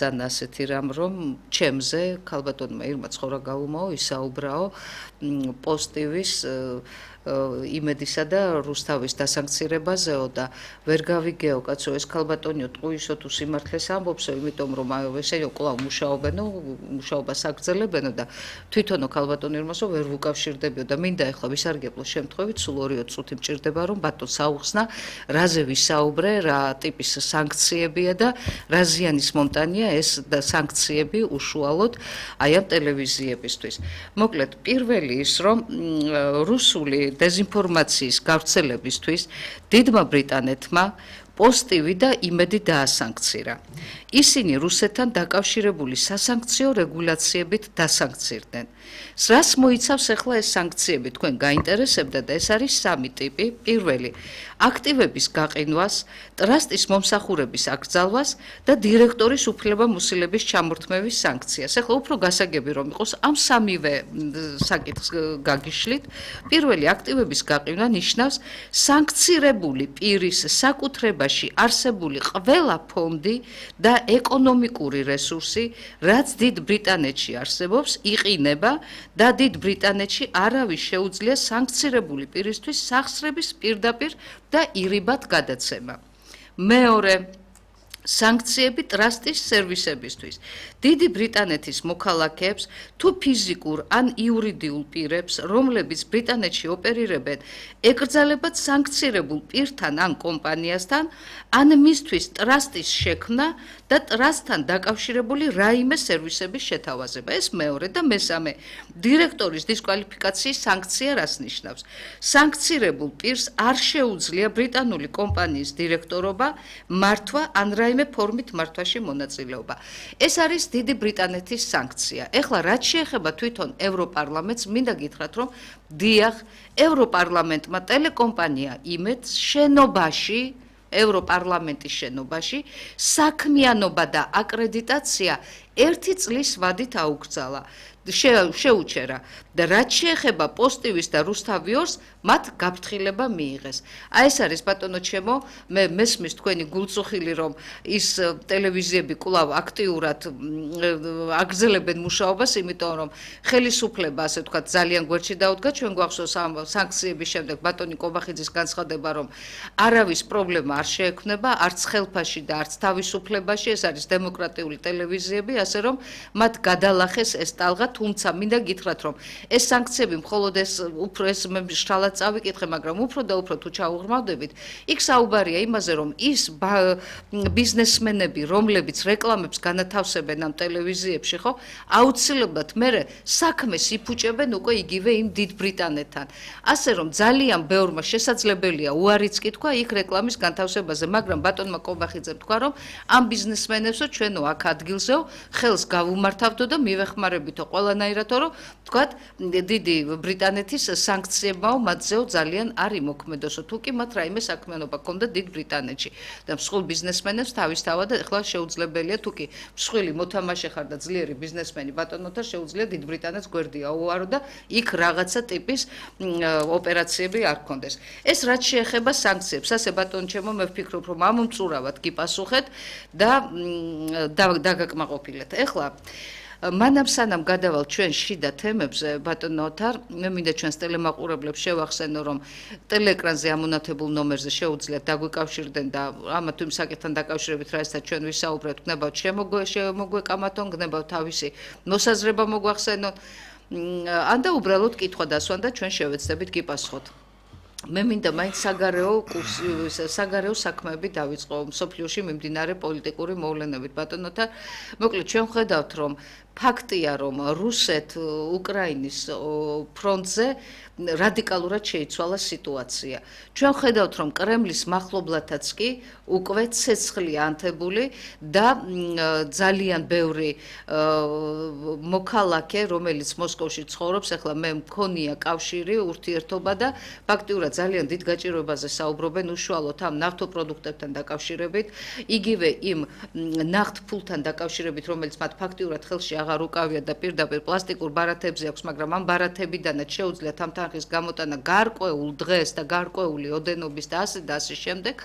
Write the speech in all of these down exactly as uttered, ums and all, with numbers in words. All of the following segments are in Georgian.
ძალიან ასეთი რამ, რომ ჩემზე ქალბატონმა ირმა ცხოვრა გაუმაო, ისაუბრაო პოზიტივის იმედისა და რუსთავის დასანქცირებაზეო და ვერ გავიგეო კაცო ეს ქალბატონიო ტყუისო თუ სიმართლეს ამბობსო, იმიტომ რომ ესენი კვლავ მუშაობენო, მუშაობას აგრძელებენო და თვითონო ქალბატონი ირმასო ვერ ვუკავშირდებიო და მინდა ეხლა ვისარგებლო შემთხვევით, სულ ორიო წუთი მჭირდება რომ ბატონ საუხსნა, რაზე ვისაუბრე, რა ტიპის სანქციებია და რა ზიანის მომტანია ეს სანქციები უშუალოდ აი ამ ტელევიზიებისთვის. მოკლედ, პირველი ის რომ რუსული დეზინფორმაციის გავრცელებისთვის დიდმა ბრიტანეთმა პოზიტივი და იმედი დაასანქცირა. ისინი რუსეთთან დაკავშირებული სასანქციო რეგულაციებით დასანქცირდნენ. რას მოიცავს ახლა ეს სანქციები? თქვენ გაინტერესებდა და ეს არის სამი ტიპი. პირველი, აქტივების გაყინვას, ტრასტის მომსახურების აკრძალვას და დირექტორის უფლებამოსილების ჩამორთმევის სანქციას. ახლა უფრო გასაგები რომ იყოს ამ სამივე საკითხს გაგიშლით. პირველი, აქტივების გაყინვა ნიშნავს სანქცირებული პირის საკუთრებაში არსებული ყველა ფონდი და ეკონომიკური რესურსი, რაც დიდ ბრიტანეთში არსებობს, იყინება და დიდ ბრიტანეთში არავის შეუძლია სანქცირებული პირისთვის სახსრების პირდაპირ და ირიბად გადაცემა. მეორე, სანქციები ტრასტის სერვისებისთვის. დიდი ბრიტანეთის მოქალაქეებს თუ ფიზიკურ ან იურიდიულ პირებს, რომლებიც ბრიტანეთში ოპერირებენ, ეკრძალებათ სანქცირებულ პირთან ან კომპანიასთან, ან მისთვის ტრასტის შექმნა და ტრასტთან დაკავშირებული რაიმე სერვისების შეთავაზება. ეს მეორე და მესამე, დირექტორის დისკვალიფიკაციის სანქცია რას ნიშნავს? სანქცირებულ პირს არ შეუძლია ბრიტანული კომპანიის დირექტორობა, მართვა ან რაიმე ფორმით მართვაში მონაწილეობა. ეს არის დიდი ბრიტანეთის სანქცია. ეხლა რაც შეეხება თვითონ ევროპარლამენტს, მინდა გითხრათ, რომ დიახ, ევროპარლამენტმა ტელეკომპანია იმედს შენობაში, ევროპარლამენტის შენობაში, საქმიანობა და აკრედიტაცია ერთი წლის ვადით აუგრძალა. შეუჩერა და რაც შეეხება პოზიტივის და რუსთავიორს, მათ გაფრთხილება მიიღეს. აი ეს არის ბატონო ჩემო, მე მესმის თქვენი გულწუხილი რომ ის ტელევიზიები კვლავ აქტიურად აგრძელებენ მუშაობას, იმიტომ რომ ხელისუფლება, ასე ვთქვათ, ძალიან გვერდში დაუდგა. ჩვენ გვახსოვს ამ სანქციების შემდეგ ბატონი კობახიძის განცხადება, რომ არავის პრობლემა არ შეექმნება, არც ხელფაში და არც თავისუფლებაში, ეს არის დემოკრატიული ტელევიზიები, ასე რომ მათ გადალახეს ეს ტალღა, თუმცა მინდა გითხრათ, რომ ეს სანქციები მხოლოდ ეს უფრო ეს მე შრალად წავიკითხე, მაგრამ უფრო და უფრო თუ ჩაუღრმავდებით, იქ საუბარია იმაზე, რომ ის ბიზნესმენები, რომლებიც რეკლამებს განათავსებენ ამ ტელევიზიებში, ხო, აუცილებლად მერე საქმეს იფუჭებენ უკვე იგივე იმ დიდ ბრიტანეთთან. ასე რომ ძალიან ბევრმა შესაძლებელია უარიც კი თქვა იქ რეკლამის განთავსებაზე, მაგრამ ბატონმა კობახიძემ თქვა, რომ ამ ბიზნესმენებსო ჩვენო აქ ადგილზეო ხელს გავუმართავდო და მივეხმარებითო ყველანაირად, რომ თქვათ დიდი ბრიტანეთის სანქციებმაო მათზეო ძალიან არ იმოქმედოსო, თუ კი მათ რაიმე საქმიანობა ჰქონდა დიდ ბრიტანეთში და მსხვილ ბიზნესმენებს თავისთავად ახლა შეუძლებელია, თუ კი მსხვილი მოთამაშე ხარ და ძლიერი ბიზნესმენი ბატონოთა შეუძლია დიდ ბრიტანეთს გვერდი აუარო და იქ რაღაცა ტიპის ოპერაციები არ ჰქონდეს. ეს რაც შეეხება სანქციებს, ასე ბატონო ჩემო, მე ვფიქრობ, რომ ამ მწურავად გიპასუხეთ და დაგაკმაყოფილეთ. ეხლა მანამ სანამ გადავალ ჩვენ შიდა თემებზე, ბატონო ოთარ, მე მინდა ჩვენს ტელემაყურებლებს შევახსენო, რომ ტელეეკრანზე ამონათებულ ნომერზე შეუძლიათ დაგვიკავშირდნენ და ამათ იმ საკითხთან დაკავშირებით, რასაც ჩვენ ვისაუბრეთ, გნებავთ შემოგვეკამათონ, გნებავთ თავისი მოსაზრება მოგვახსენოთ, ან და უბრალოდ კითხვა დასვან და ჩვენ შევეცდებით გიპასუხოთ. მე მინდა მაინც საგარეო საგარეო საქმეები დავიწყო მსოფლიოში მიმდინარე პოლიტიკური მოვლენებით, ბატონოთა. მოკლედ ჩვენ ხედავთ, რომ ფაქტია, რომ რუსეთ-უკრაინის ფრონტზე რადიკალურად შეიცვალა სიტუაცია. ჩვენ ხედავთ, რომ კრემლის მახლობლათაც კი უკვე ცეცხლია ანთებული და ძალიან ბევრი მოქალაქე, რომელიც მოსკოვში ცხოვრობს, ახლა მე მქონია კავშირი, ურთიერთობა და ფაქტიურად ნამდვილად ძალიან დიდ გაჭირვებაზე საუბრობენ უშუალოდ ამ ნავთობპროდუქტებთან დაკავშირებით, იგივე იმ ნახტ ფულთან დაკავშირებით, რომელიც მათ ფაქტიურად ხელში აღარ უკავია და პირდაპირ პლასტიკურ ბარათებზე აქვს, მაგრამ ამ ბარათებიდანაც შეუძლიათ ამ თანხის გამოტანა გარკვეულ დღეს და გარკვეული ოდენობის და ასე და ასე შემდეგ,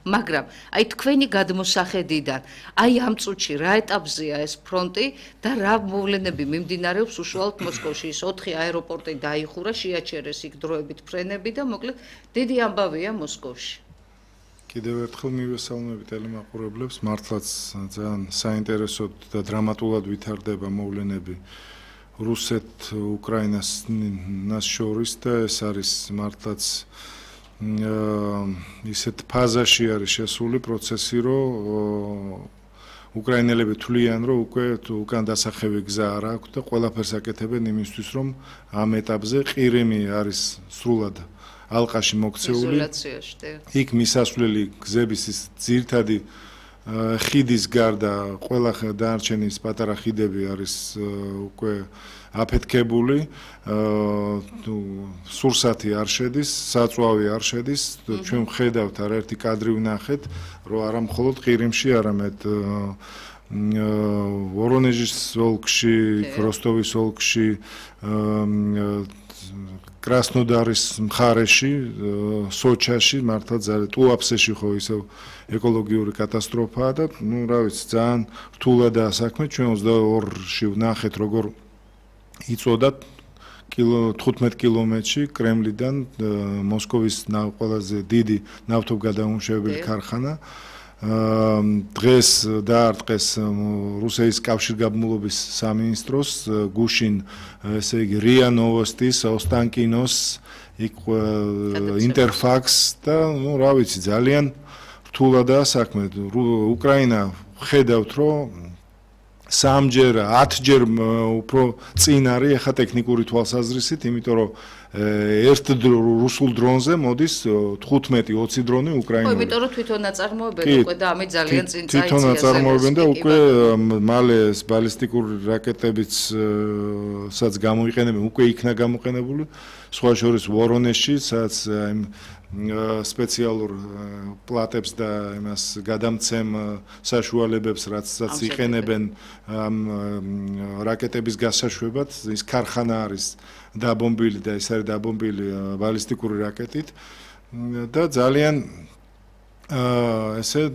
მაგრამ აი თქვენი გადმოსახედიდან, აი ამ წუთში რა ეტაპზეა ეს ფრონტი და რა მოვლენები მიმდინარეობს უშუალოდ მოსკოვში? ის ოთხი აეროპორტი დაიხურა, შეაჩერეს იქ დროებით ფრენები და მოკლედ დიდი ამბავია მოსკოვში. კიდევ ერთხელ მივესალმები ტელემაყურებლებს, მართლაც ძალიან საინტერესო და დრამატულად ვითარდება მოვლენები რუსეთ-უკრაინას შორის და ეს არის მართლაც ისეთ ფაზაში არის შესული პროცესი, რომ უკრაინელები თვლიან, რომ უკვე უკან დასახევი გზა არ აქვს და ყველაფერს აკეთებენ იმისთვის, რომ ამ ეტაპზე ყირიმი არის სრულად ალყაში მოქცეული. იქ მისასვლელი გზების ის ძირითადი ხიდის გარდა ყველა დანარჩენი პატარა ხიდები არის უკვე აფეთქებული, სურსათი არ შედის, საწვავი არ შედის, ჩვენ ვხედავთ არაერთი კადრი ვნახეთ, რომ არა მხოლოდ ყირიმში, არამედ ვორონეჟის ოლქში, როსტოვის ოლქში, კრასნოდარის მხარეში, სოჩაში, მართლა ძალიან ტუაფსეში ხო ისევ ეკოლოგიური კატასტროფაა და ნუ რა ვიცი, ძალიან რთულადაა საქმე. ჩვენ ოცდაორში ვნახეთ, როგორ იწოდა თხუთმეტ კილომეტრში კრემლიდან მოსკოვის ყველაზე დიდი ნავთობგადამამუშავებელი ქარხანა. დღეს დაარტყეს რუსეთის კავშირგაბმულობის სამინისტროს გუშინ, ესე იგი რია ნოვოსტის, ოსტანკინოს, იქ ინტერფაქს და ნუ რა ვიცი, ძალიან რთულადაა საქმე. უკრაინა ხედავთ, რომ სამჯერ, ათჯერ უფრო წინ არის ახლა ტექნიკური თვალსაზრისით, იმიტომ რომ ერთ რუსულ დრონზე მოდის თხუთმეტი ოცი დრონი უკრაინული. ხო, იმიტომ რომ თვითონ აწარმოებენ უკვე და ამით ძალიან წინ წაიწია. თვითონ აწარმოებენ და უკვე მალე ბალისტიკური რაკეტებიც სადაც გამოიყენებენ, უკვე იქნა გამოყენებული, სხვა შორის ვორონეჟში, სადაც აი სპეციალურ პლატებს და იმას გადამცემ საშუალებებს, რაცაც იყენებენ ამ რაკეტების გასაშვებად, ის ქარხანა არის დაბომბილი და ეს არის დაბომბილი ბალისტიკური რაკეტით და ძალიან ესე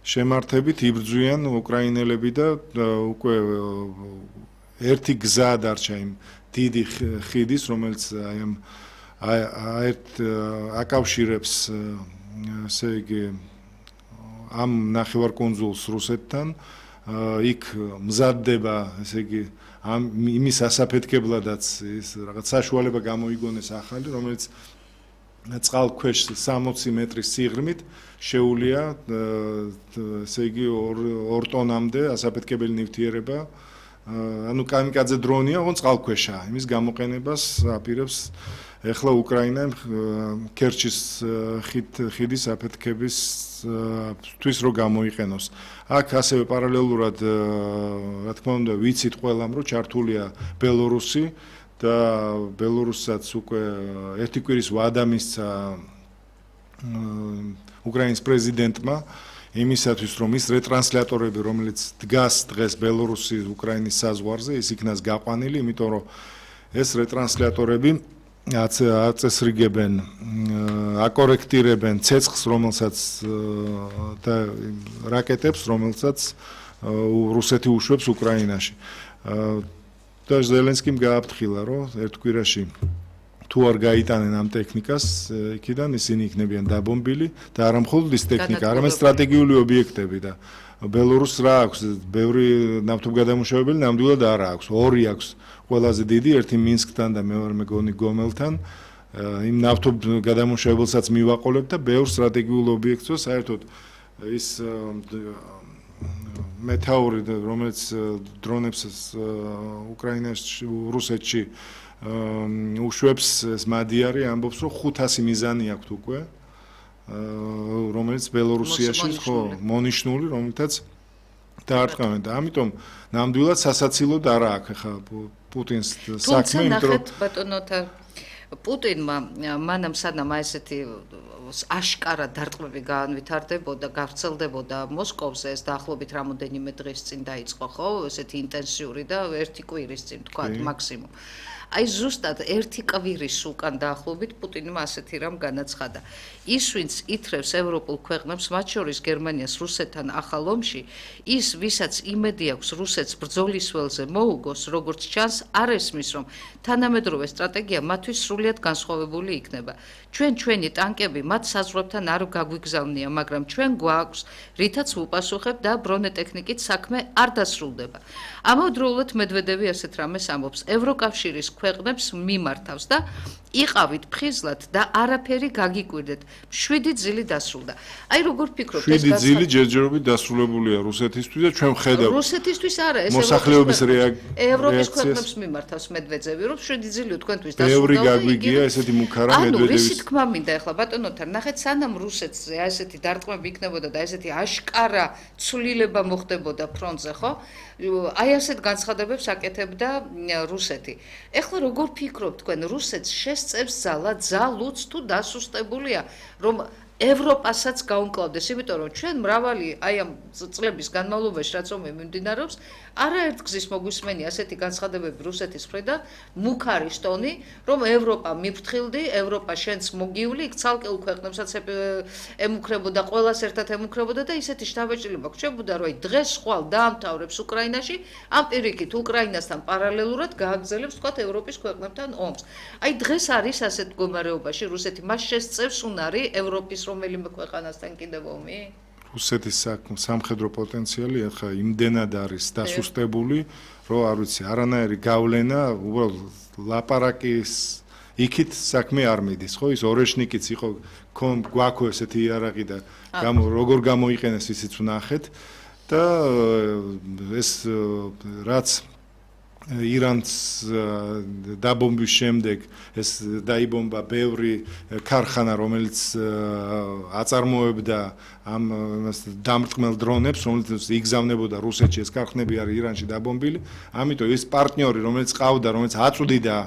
შემართებით იბრძვიან უკრაინელები და უკვე ერთი გზა დარჩა იმ დიდი ხიდის, რომელიც აი ამ აერთ აკავშირებს ესე იგი ამ ნახევარკუნძულს რუსეთთან, იქ მზადდება ესე იგი ამ იმის ასაფეთქებლადაც ის რაღაც საშუალება გამოიგონეს ახალი, რომელიც წყალქვეშ სამოცი მეტრის სიღრმით შეუულია ესე იგი ორ ტონამდე ასაფეთქებელი ნივთიერება, ანუ კამიკაძე დრონია, ოღონდ წყალქვეშაა, იმის გამოყენებას აპირებს ეხლა უკრაინა ქერჩის ხიდის აფეთქებისთვის რო გამოიყენოს. აქ ასევე პარალელურად, რა თქმა უნდა, ვიცით ყველამ, რომ ჩართულია ბელორუსი და ბელორუსსაც უკვე ერთი კვირის ვადა მისცა უკრაინის პრეზიდენტმა იმისათვის, რომ ის რეტრანსლატორები, რომელიც დგას დღეს ბელორუსის უკრაინის საზღვარზე, ის იქნას გაყვანილი, იმიტომ რომ ეს რეტრანსლატორები აწესრიგებენ, აკორექტირებენ ცეცხლს, რომელსაც და რაკეტებს, რომელსაც რუსეთი უშვებს უკრაინაში. და ზელენსკიმ გააფრთხილა, რომ ერთ კვირაში თუ არ გაიტანენ ამ ტექნიკას, იქიდან ისინი იქნებიან დაბომბილი და არა მხოლოდ ის ტექნიკა, არამედ სტრატეგიული ობიექტები და ბელორუსს რა აქვს, ბევრი ნავთობგადამამუშავებელი ნამდვილად არ აქვს, ორი აქვს. ყველაზე დიდი, ერთი მინსკთან და მეორე მეგონი გომელთან, იმ ნავთობგადამამუშავებელსაც მივაყოლებ და ბევრ სტრატეგიულ ობიექტს, საერთოდ ის მეთაური, რომელიც დრონებს უკრაინაში, რუსეთში უშვებს, ეს მადიარი ამბობს, რომ ხუთასი მიზანი აქვს უკვე, რომელიც ბელორუსიაში ხო მონიშნული, რომელთაც დაარტყამენ და ამიტომ ნამდვილად სასაცილოდ არა აქვს ახლა პუტინს საქმე, იმიტომ რომ ბატონოთა პუტინმა მანამ სანამ ესეთი აშკარა დარტყმები გაანვითარდებოდა, გავრცელდებოდა მოსკოვზე, ეს დაახლოებით რამოდენიმე დღის წინ დაიწყო, ხო, ესეთი ინტენსიური და ერთი კვირის წინ თქვა მაქსიმუმ. აი ზუსტად ერთი კვირის უკან დაახლოებით პუტინმა ასეთი რამ განაცხადა. ის ვინც ითრევს ევროპულ ქვეყნებს, მათ შორის გერმანიას რუსეთთან ახალ ომში, ის ვისაც იმედი აქვს რუსეთს ბრძოლის ველზე მოუგოს, როგორც ჩანს, არ ესმის, რომ თანამედროვე სტრატეგია მათთვის სრულიად განსხვავებული იქნება. ჩვენ ჩვენი ტანკები მათ საზღვრებთან არ გაგვიგზავნია, მაგრამ ჩვენ გვაქვს, რითაც ვუპასუხებთ და ბრონეტექნიკით საქმე არ დასრულდება. ამავდროულად მედვედევი ასეთ რამეს ამბობს, ევროკავშირის ქვეყნებს მიმართავს და იყავით ფხიზლად და არაფერი გაგიკვირდეთ. შვიდი ძილი დასრულდა. აი როგორ ფიქრობთ ეს შვიდი ძილი ჯერჯერობით დასრულებულია რუსეთისთვის და ჩვენ ხედავთ რუსეთისთვის არა ეს მოსახლეობის რეაქცია ევროპის ქვეყნებს მიმართავს მედვედევი რომ შვიდი ძილი თქვენთვის დასრულდა. ბევრი გაგვიგია ესეთი მუქარა მედვედევის. ანუ რისი თქმა მინდა ახლა ბატონოთან ნახეთ სანამ რუსეთზე ესეთი დარტყმები იქნებოდა და ესეთი აშკარა ცვლილება მოხდებოდა ფრონტზე ხო? აი ასეთ განცხადებებს აკეთებდა რუსეთი. ეხლა როგორ ფიქრობთ თქვენ რუსეთს შესწევს ძალა ძალუც თუ დასუსტებულია რომ ევროპასაც გაუმკლავდეს, იმიტომ რომ ჩვენ მრავალი აი ამ წლების განმავლობაში რაც ომი მიმდინარეობს, არაერთ გზის მოგვისმენია ასეთი განცხადებები რუსეთის მხრიდან, მუქარი ტონი, რომ ევროპა მიფრთხილდი, ევროპა შენც მოგივლი, იქ ცალკეულ ქვეყნებსაც ემუქრებოდა, ყველას ერთად ემუქრებოდა და ისეთი შთაბეჭდილება გრჩებოდა, რომ აი დღეს ხვალ დაამთავრებს უკრაინაში, ამ პირიქით უკრაინასთან პარალელურად გააგრძელებს თქვათ ევროპის ქვეყნებთან ომს. აი დღეს არის ასეთ მდგომარეობაში რუსეთი მას შესწევს უნარი ევროპის რომელიმე ქვეყანასთან კიდევ ომი? რუსეთის სამხედრო პოტენციალი ახლა იმდენად არის დასუსტებული, რომ არ ვიცი, არანაირი გავლენა, უბრალოდ ლაპარაკის იქით საქმე არ მიდის, ხო? ის ორეშნიკიც იყო, გვაქვს ესეთი იარაღი და როგორ გამოიყენეს ისიც ვნახეთ და ეს რაც ირანს დაბომბვის შემდეგ ეს დაიბომბა ბევრი ქარხანა, რომელიც აწარმოებდა ამ დამრტყმელ დრონებს, რომელიც იგზავნებოდა რუსეთში, ეს ქარხნები არის ირანში დაბომბილი. ამიტომ ეს პარტნიორი, რომელიც ყავდა, რომელიც აწვდიდა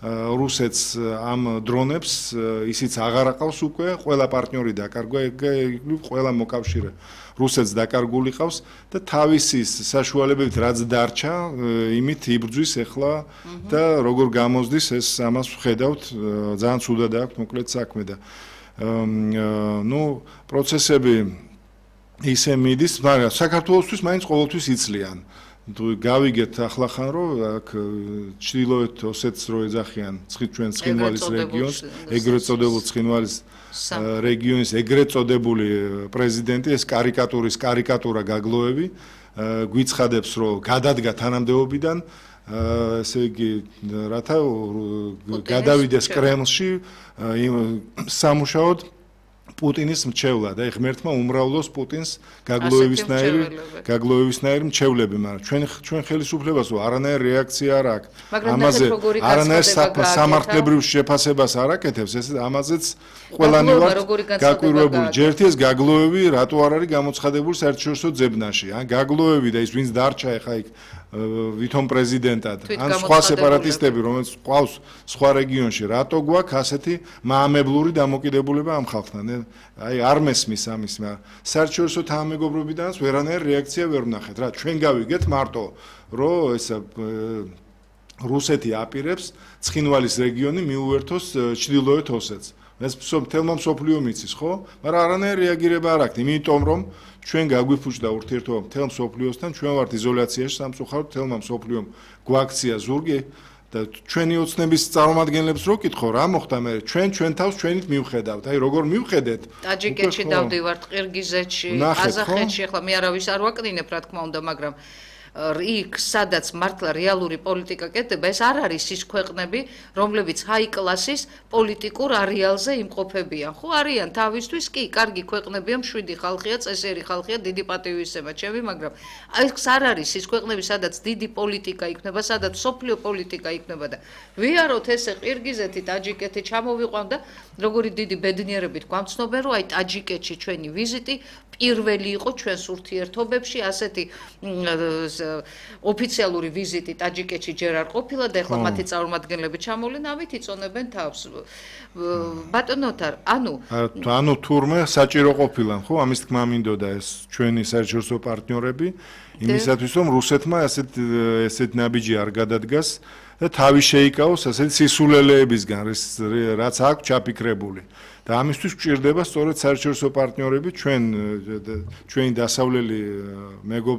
რუსეთს ამ დრონებს, ისიც აღარ აყავს უკვე, ყველა პარტნიორი დაკარგვა, ყველა მოკავშირე რუსეთს დაკარგული ყავს და თავისი საშუალებებით რაც დარჩა, იმით იბრძვის ახლა და როგორ გამოზდის ეს ამას ვხედავთ, ძალიან ცუდად აქვს მოკლედ საქმე და ნუ პროცესები ისე მიდის, მაგრამ საქართველოსთვის მაინც ყოველთვის იცლიან. გავიგეთ ახლა-ხან რომ აქ ჩრდილოეთ ოსეთს რო ეძახიან ჩვენ ცხინვალის რეგიონს, ეგრეთ წოდებულ ცხინვალის რეგიონის ეგრეთ წოდებული პრეზიდენტი ეს კარიკატურის კარიკატურა გაგლოევი გვიცხადებს რომ გადადგა თანამდებობიდან ესე იგი რათა გადავიდეს კრემლში სამუშაოდ პუტინის მრჩევლა და ღმერთმა უმრავლოს პუტინს გაგლოევისნაირი გაგლოევისნაირი მრჩევლები, მაგრამ ჩვენ ჩვენ ხელისუფლებას არანაირი რეაქცია არ აქვს. ამაზე არანაირ სამართლებრივ შეფასებას არ აკეთებს, ეს ამაზეც ყველანი ვართ გაკვირვებული. ჯერთი ეს გაგლოევი რატო არ არის გამოცხადებული საერთაშორისო ძებნაში? ან გაგლოევი და ის ვინც დარჩა ახლა იქ ვითომ პრეზიდენტად, ან სხვა სეპარატისტები, რომელიც ყავს სხვა რეგიონში, რატო გვაქვს ასეთი მაამებლური დამოკიდებულება ამ ხალხთან? აი არ მესმის ამის, მაგრამ საერთაშორისო თანამეგობრობიდანაც ვერანაირი რეაქცია ვერ ვნახეთ. რა ჩვენ გავიგეთ მარტო, რომ ეს რუსეთი აპირებს ცხინვალის რეგიონი მიუერთოს ჩრდილოეთ ოსეთს. ეს მთელმა მსოფლიომ იცის, ხო? მაგრამ არანაირი რეაგირება არ აქვს, იმიტომ რომ ჩვენ გაგვიფუჭდა ურთიერთობა მთელ მსოფლიოსთან, ჩვენ ვართ იზოლაციაში სამწუხაროდ, მთელმა მსოფლიომ გვაქცია ზურგი და ჩვენი ოცნების წარმომადგენლებს რო კითხო, რა მოხდა მე? ჩვენ ჩვენ თავს ჩვენით მივხედავთ. აი როგორ მივხედეთ? ტაჯიკეთში დავდივართ, ყირგიზეთში, ყაზახეთში, ახლა მე არავის არ ვაკნინებ, რა თქმა უნდა, მაგრამ იქ სადაც მართლა რეალური პოლიტიკა კეთდება, ეს არ არის ის ქვეყნები, რომლებიც ჰაი კლასის პოლიტიკურ არეალზე იმყოფებიან. ხო არიან თავისთვის კი, კარგი ქვეყნებია, მშვიდი ხალხია, წესიერი ხალხია, დიდი პატივისცემა ჩემი, მაგრამ ეს არ არის ის ქვეყნები, სადაც დიდი პოლიტიკა იქნება, სადაც სოფლიო პოლიტიკა იქნება და ვიაროთ ესე ყირგიზეთი, ტაჯიკეთი ჩამოვიყვან და როგორი დიდი ბედნიერებით გვამცნობენ, რომ აი ტაჯიკეთში ჩვენი ვიზიტი პირველი იყო ჩვენს ურთიერთობებში, ასეთი ოფიციალური ვიზიტი ტაჯიკეთში ჯერ არ ყოფილა და ეხლა მათი წარმომადგენლები ჩამოვლენ, ამით იწონებენ თავს. ბატონო თარ, ანუ ანუ თურმე საჭირო ყოფილან, ხო? ამის თქმა მინდოდა ეს ჩვენი საერთაშორისო პარტნიორები, იმისათვის რომ რუსეთმა ასეთ ესეთ ნაბიჯი არ გადადგას და თავი შეიკავოს ასეთ სისულელეებისგან, რაც აქვს ჩაფიქრებული. და ამისთვის გვჭირდება სწორედ საერთაშორისო პარტნიორები, ჩვენ ჩვენი დასავლელი მეგობრები